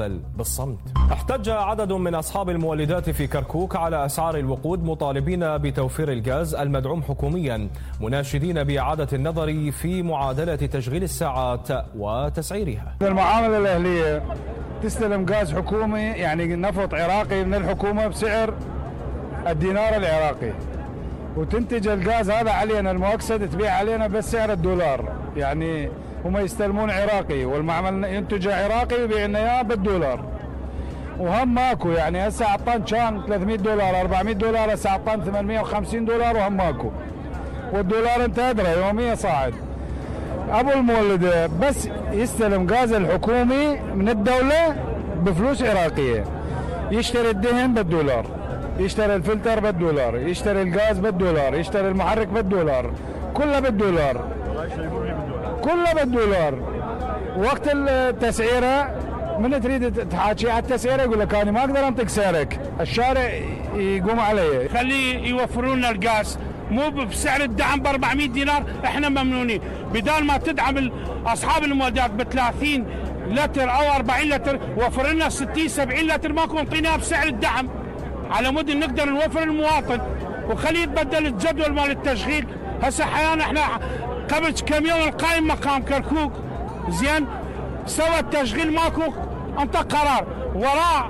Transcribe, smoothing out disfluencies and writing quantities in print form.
بل بالصمت. احتج عدد من أصحاب المولدات في كركوك على أسعار الوقود مطالبين بتوفير الغاز المدعوم حكوميا، مناشدين بإعادة النظر في معادلة تشغيل الساعات وتسعيرها. المعاملة الأهلية تستلم غاز حكومي، يعني نفط عراقي من الحكومة بسعر الدينار العراقي، وتنتج الغاز هذا علينا المؤكسد تبيع علينا بس سعر الدولار. يعني هم يستلمون عراقي والمعمل ينتج عراقي ويبيع لنا اياه بالدولار، وهم ماكو. يعني هسه عطان كان $300 $400، هسه عطان $850 وهم ماكو، والدولار انت ادرى يوميا صاعد. ابو المولد بس يستلم غاز الحكومي من الدولة بفلوس عراقية، يشتري الدهن بالدولار، يشتري الفلتر بالدولار، يشتري الغاز بالدولار، يشتري المحرك بالدولار، كله بالدولار، كله بالدولار. وقت التسعيره من تريد تحاكي على التسعيره يقول لك انا ما اقدر انطق سعرك، الشارع يقوم علي. خليه يوفرون لنا الغاز مو بسعر الدعم ب 400 دينار، احنا ممنونين. بدال ما تدعم اصحاب المولدات ب 30 لتر او 40 لتر، وفر لنا 60 70 لتر ماكو انطيناها بسعر الدعم على مود نقدر نوفر المواطن، وخليه يتبدل الجدول مال التشغيل. هسه احيانا احنا قبل كم يوم القائم مقام كركوك زين سوى التشغيل ماكو، انطى قرار وراه